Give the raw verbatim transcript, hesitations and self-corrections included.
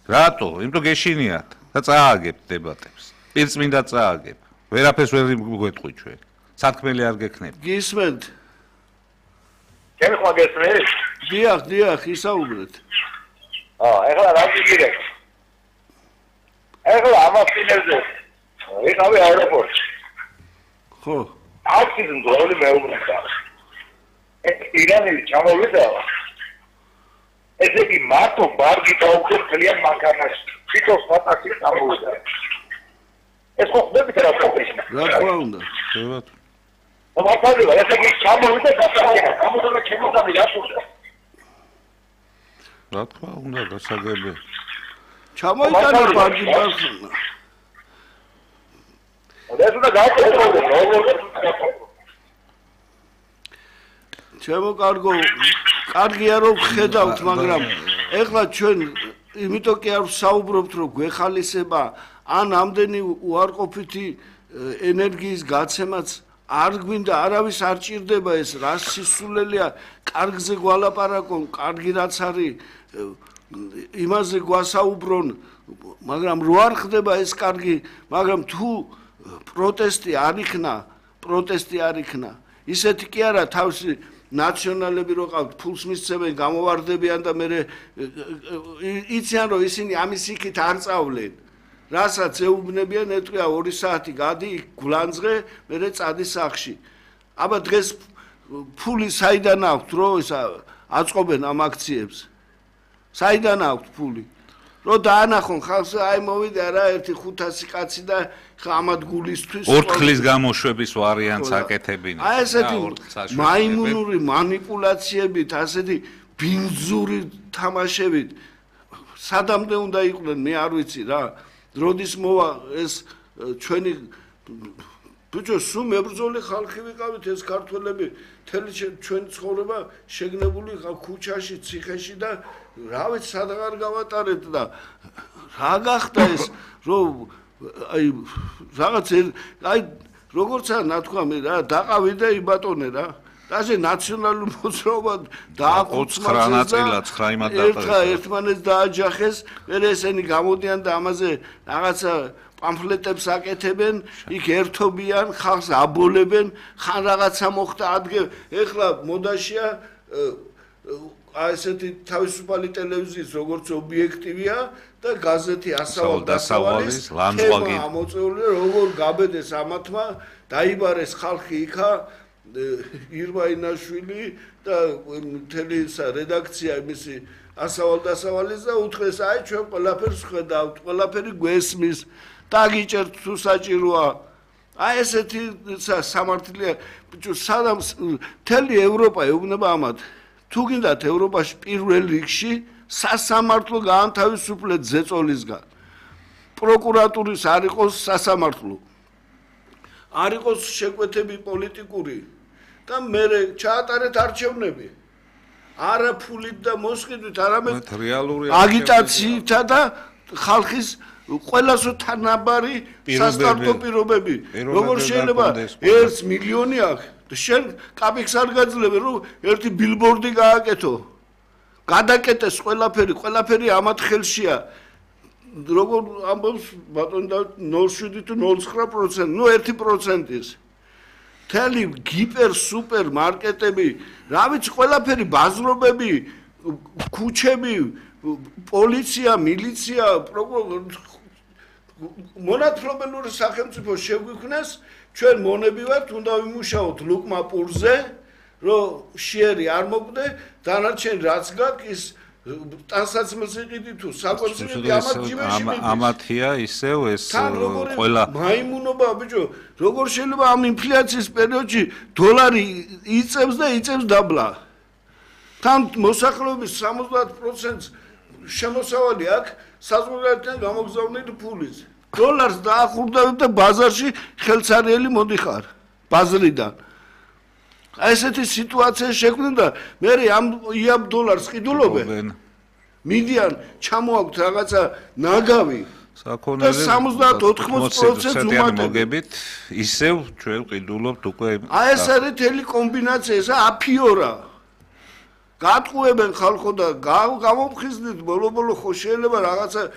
რატო? იმიტომ გეშინიათ და წააგებთ დებატებს. პირწმინდა წააგებ. ვერაფერს ვერ გვეტყვი ჩვენ. სათქმელი არ გექნებით. გისმენთ? ჩემი ხმა გესმის? დიახ, დიახ, ისაუბრეთ. აა, ეხლა რა გიგირეთ? ეხლა ამას წინებზე ვიყავი აეროპორტში. ხო. ტაქსის მძღოლი მეუბნება. ეს ირანელი ჩამოვიდა. ესე იგი მარტო ბარგი დაუხდეთ ძალიან მანქანაში. თვითონ სპატაქსი ჩამოვიდა. ეს ხო ხდებით რა პროფესია? რა თქმა უნდა. შევათ. მართალია, ესე იგი ჩამოვიდა დასაგება. გამოდონა ჩემოდანი რატოა? რა თქმა უნდა, დასაგები. ჩამოიტანა ბარგი ბარხნა. ეს უნდა გააკეთებოდეს, როგორ ჩემო კარგო, კარგია რომ ხედავთ, მაგრამ ეხლა ჩვენ იმიტომ კი არ საუბრობთ რომ გვეხალისება ან ამდენი უარყოფითი ენერგიის გაცემაც არ გვინდა, არავის არ ჭირდება ეს რა სისულელია, კარგზე გვალაპარაკონ, კარგი რაც არის იმაზე გვასაუბრონ, მაგრამ რო არ ხდება ეს კარგი, მაგრამ თუ პროტესტი არ იქნა, პროტესტი არ იქნა, ისეთი კი არა თავისი ნაციონალები რო ყავთ, ფულს მისცემენ, გამოვარდებიან და მე იციან რომ ისინი ამის იქით არ წავლენ. რასაც ეუბნებიან, ეტყვია ორი საათი გადი გულანძღე, მე წადი სახლში. აბა დღეს ფული საიდან აქვთ, რომ ისა აწყობენ ამ აქციებს? საიდან აქვთ ფული? რომ დაანახონ ხალხს, აი მოვიდა რა ერთი ხუთასი კაცი და ამად გულისთვის ორთქლის გამოშვების ვარიანტს აკეთებინათ. აი ესეთი მაიმუნური მანიპულაციებით, ასეთი ბინძური თამაშებით სადამდე უნდა იყვნენ, მე არ ვიცი რა. როდის მოვა ეს ჩვენი ბიჭო, სულ მებრძოლი ხალხი ვიყავით, ეს ქართველები, მთელი ჩვენი ცხოვრება შეგნებული ქუჩაში, ციხეში და რა ვიცი, სადღარ გავატარეთ და რა გახდა ეს, რომ აი რაღაც აი როგორცა ნათქვამი რა, დაყავი და იბატონე რა. ასე ნაციონალური მოძრაობა დააკუცმას და ცხრა ერთმა ერთმანეთს დააჯახეს, მე ესენი გამოდიან და ამაზე რაღაცა პამფლეტებს აკეთებენ, იქ ერთობიან, ხალხს აბოლებენ, ხან რაღაცა მოხდა ადგე, ეხლა მოდაშია აი ესეთი თავისუფალი ტელევიზიის როგორც ობიექტივია და გაზეთი ასავალ დასავალის ლანძღვაგი ამოწეული, როგორ გაბედეს ამათმა, დაიბარეს ხალხი იქა ირვაინაშვილი და მთელი რედაქცია მისი ასავალ დასავალის და უთხრეს აი ჩვენ ყველაფერს ხედავთ, ყველაფერი გვესმის, დაგიჭერთ თუ საჭიროა. აი ესეთი სამართლია, ბიჭო, სადამ მთელი ევროპა ეუბნება ამათ. თუ გინდათ ევროპაში პირველ რიგში სასამართლო გაანთავისუფლეთ ზეწოლისგან. პროკურატურის არ იყოს სასამართლო. არ იყოს შეკვეთები პოლიტიკური და მე ჩაატარეთ არჩევნები. არა ფულით და მოსყიდვით, არამედ აგიტაციითა და ხალხის ყველასო თანაბარი სასტარტო პირობები. როგორ შეიძლება ერთ მილიონი აქვს, შენ კაპიქს არ გაძლევენ, რომ ერთი ბილბორდი გააკეთო. გადაკეტეს ყველაფერი, ყველაფერი ამათ ხელშია. როგორ ამბობს ბატონი და ნულ შვიდი თუ ნულ ცხრა პროცენტი, ნუ ერთი პროცენტის. მთელი გიპერ სუპერ მარკეტები, რა ვიცი, ყველაფერი ბაზრობები, ქუჩები, პოლიცია, მილიცია, მონათლობელური სახელმწიფო შეგვიქმნეს, ჩვენ მონები ვართ, უნდა ვიმუშაოთ ლუკმა პურზე, რომ შიერი არ მოკვდე, დანარჩენ რაც გაქვს ის ტანსაცმელს იყიდი თუ საკონცერტი ამათ ჯიმეში მიდის. ამათია ისევ ეს ყველა მაიმუნობა ბიჭო, როგორ შეიძლება ამ ინფლაციის პერიოდში დოლარი იწევს და იწევს დაბლა. თან მოსახლეობის სამოცდაათ პროცენტს შემოსავალი აქვს საზღვარგარეთიდან გამოგზავნილი ფულის. დოლარს დაახურდავებ და ბაზარში ხელცარიელი მოდიხარ ბაზრიდან. აი ესეთი სიტუაცია შექმნა და მე ამ იაბ დოლარს ყიდულობენ. მიდიან ჩამოაქვთ რაღაცა ნაგავი საქონელი სამოცდაათ ოთხმოცდაათ პროცენტს უმატებთ. მოგებით ისევ ჩვენ ყიდულობთ უკვე. აი ეს არის თელი კომბინაცია, ეს აფიორა. გატყუებენ ხალხო და გამოფხიზნით ბოლო-ბოლო ხო შეიძლება რაღაცა